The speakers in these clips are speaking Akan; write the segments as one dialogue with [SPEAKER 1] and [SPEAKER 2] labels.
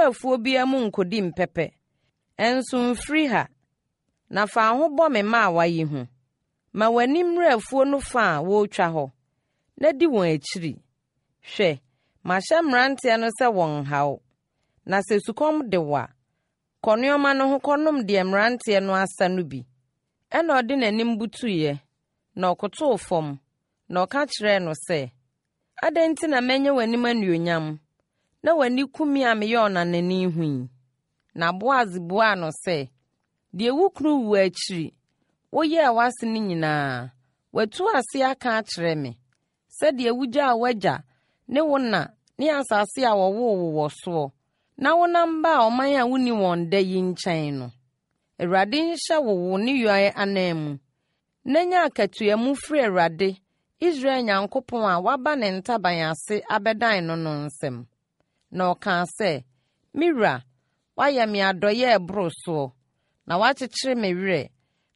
[SPEAKER 1] afuo biara mu nkɔdi mpɛpɛ, nso mfiri ha, na fa wo ho bɔ me mmaawa yi ho. Ma w'ani mmere afuo no fa a wɔretwa hɔ, na di wɔn akyiri. Hwɛ, mahyɛ mmeranteɛ no sɛ wɔnnha wo. Na sɛ sukɔm de wo a, kɔ nnoɔma no ho kɔnom deɛ mmeranteɛ no asa no bi. Ɛnna ɔde n'anim butuiɛ, na ɔkotoo fam, na ɔka kyerɛɛ no sɛ, Adɛn nti na manya w'anim animuonyam, na w'ani ku me a meyɛ ɔnanani ho yi? Na Boas buaa no sɛ, Deɛ wo kunu wuo akyiri woyɛɛ w'ase no nyinaa, watu ase aka akyerɛ me, sɛdeɛ wogyaa w'agya ne wo na ne asase a wɔwoo wo wɔ soɔ, na wonam baa ɔman a wonni wɔn da yi nkyɛn no. Awurade nhyɛ wo wo nneyɔɛ ananmu, na nya akatua mu firi Awurade, Israel Nyankopɔn a woaba ne ntaban ase abɛdan no no nsam. Na ɔkaa sɛ, Me wura, woayɛ me adɔeɛ a ɛboro soɔ, na woakyekyere me werɛ,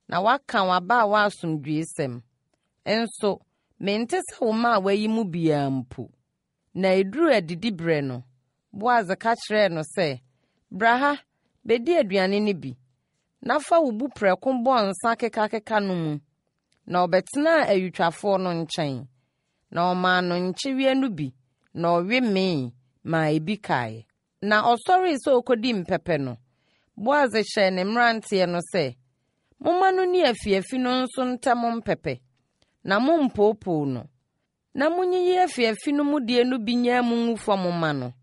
[SPEAKER 1] na woaka w'abaawa asomdwoeɛsɛm. Nso mente sɛ wo mmaawa yi mu biara mpo. Na ɛduruu adidiberɛ no, Boas ka kyerɛɛ no sɛ, Bra ha, bɛdi aduane no bi, na fa wo buprɛko bɔ nsa kekakeka no mu. Na ɔbɛtenaa ayutwafoɔ no nkyɛn, na ɔmaa no nkyeweɛ no bi, na ɔwe mee maa ebi kaeɛ. Na ɔsɔree sɛ ɔrekɔdi mpɛpɛ no, Boas hyɛɛ ne mmeranteɛ no sɛ, Momma no nni afiafi no nso ntam mpɛpɛ, na mommpoopoo no. Na monyiyi afiafi no mu deɛ no bi nyaa mu ngu fam mma no,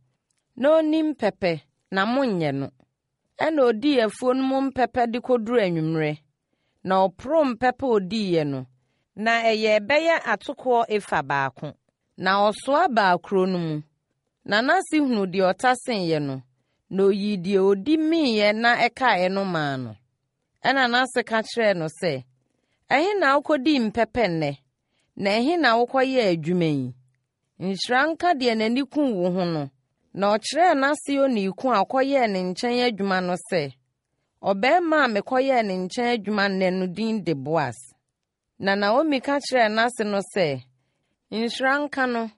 [SPEAKER 1] na ɔnni mpɛpɛ, na monnyɛ no. Ɛnna ɔdii afuo no mu mpɛpɛ de kɔduruu anwummerɛ, na ɔporoo mpɛpɛ a ɔdiiɛ no, na ɛyɛɛ bɛyɛ atokoɔ efa baako. Na ɔsoa baa kuro no mu, na n'ase hunuu deɛ ɔtaseeɛ no, na ɔyii deɛ ɔdi meeɛ na ɛkaeɛ no maa no. Ɛnna n'ase ka kyerɛɛ no sɛ, Ɛhe na wokɔdii mpɛpɛ nnɛ, na ɛhe na wokɔyɛɛ adwuma yi? Nhyira nka deɛ n'ani kuu wo ho no. Na ɔkyerɛɛ n'ase onii ko a ɔkɔyɛɛ ne nkyɛn adwuma no sɛ, Ɔbarima a mekɔyɛɛ ne nkyɛn adwuma nnɛ no din de Boas. Na Naomi ka kyerɛɛ n'ase no sɛ, Nhyira nka no,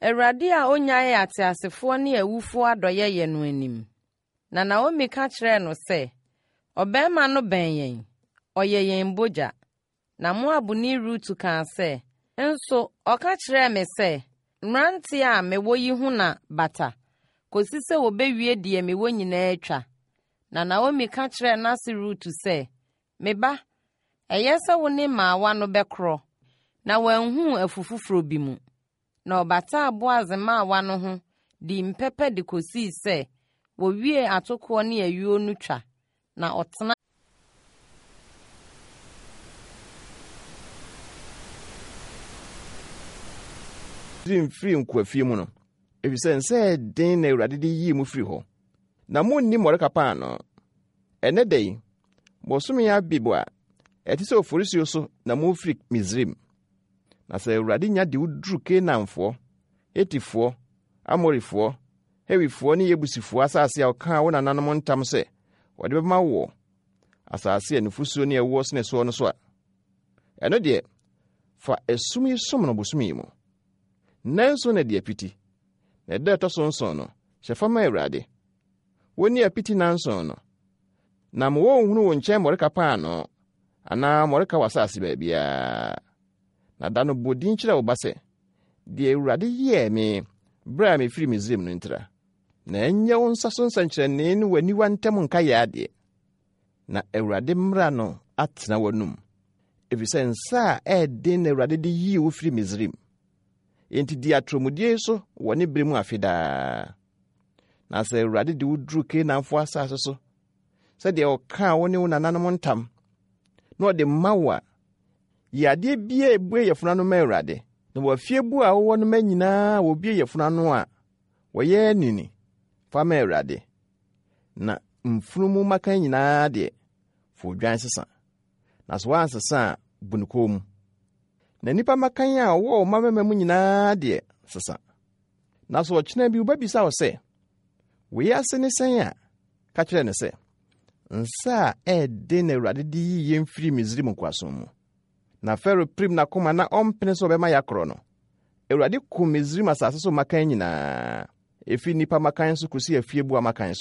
[SPEAKER 1] Awurade a ɔnnyaee ateasefoɔ ne awufoɔ adɔeɛyɛ no anim. Na Naomi ka kyerɛɛ no sɛ, Ɔbarima no bɛn yɛn, ɔyɛ yɛn bogya. Na Moabni Rut kaa sɛ, Nso ɔka kyerɛɛ me sɛ, Mmeranteɛ a mewɔ yi ho na bata, kɔsi sɛ wɔbɛwie deɛ mewɔ nyinaa twa. Na Naomi ka kyerɛɛ n'ase Rut sɛ, Me ba, ɛyɛ sɛ wo ne mmaawa no bɛkorɔ, na wɔanhu wo afu foforɔ bi mu. Na ɔbataa Boas mmaawa no ho dii mpɛpɛ de kɔsii sɛ wɔwiee atokoɔ ne ayuo no twa, na ɔtenaa.
[SPEAKER 2] Misraim firii nkoafie mu no, efisɛ nsa a ɛyɛ den na Awurade de yii mo firii hɔ. Na munni mmɔreka paanoo. Ɛnnɛ da yi, bosome Abib a ɛte sɛ oforisuo so na mofiri Misraim. Na sɛ Awurade nya de wo duru Kanaanfoɔ, Hetifoɔ, Amorifoɔ, Hewifoɔ ne Yebusifoɔ asase a ɔkaa wo nananom ntam sɛ ɔde bɛma woɔ, asase a nufosuo ne ɛwoɔ sene soɔ no so a, ɛno deɛ, fa esum yi som no bosome yi mu. Nnanson na di apiti, na ɛda ɛtɔ so nson no, hyɛ fa ma Awurade. Wonni apiti nnanson no, na ma wɔnhunu wo nkyɛn mmɔreka paanoo anaa mmɔreka w'asase baabiara. Na da no bɔ din kyerɛ wo ba sɛ, Deɛ Awurade yɛɛ me berɛ a mefiri Misraim no ntira. Na ɛnyɛ wo nsa so nsɛnkyerɛnne ne w'aniwa ntam nkaeɛ adeɛ. Na Awurade mmara no atena w'anom, ɛfiri sɛ nsa a ɛyɛ den na Awurade de yii wo firi Misraim. Enti di atorɔmudie yi so wɔ ne berɛ mu afe daa. Na sɛ Awurade de wo duru Kanaanfoɔ asase so, sɛdeɛ ɔkaa wo ne wo nananom ntam, na ɔde ma wo a, yi adeɛ biara a ɛbue yafunu ano ma Awurade. Na w'afieboa a wowɔ no ma nyinaa a wɔbue yafunu ano a wɔyɛ anini, fa ma Awurade. Na mfunumu mmakan nyinaa deɛ, fa odwan sesa. Na sɛ woansesa a, bu no kɔn mu. Na nnipa mmakan a wɔwɔ wo mmabarima mu nyinaa deɛ, sesa. Na sɛ ɔkyena bi wo ba bisa wo sɛ, Wei ase ne sɛn a, ka kyerɛ no sɛ, Nsa a ɛyɛ den na Awurade de yii yɛn firii Misraim nkoasom mu. Na Farao pirim n'akoma na ɔmpene sɛ ɔbɛma yɛakorɔ no. Awurade kum Misraim asase so mmakan nyinaa, ɛfiri nnipa mmakan so kɔsi afieboa mmakan so.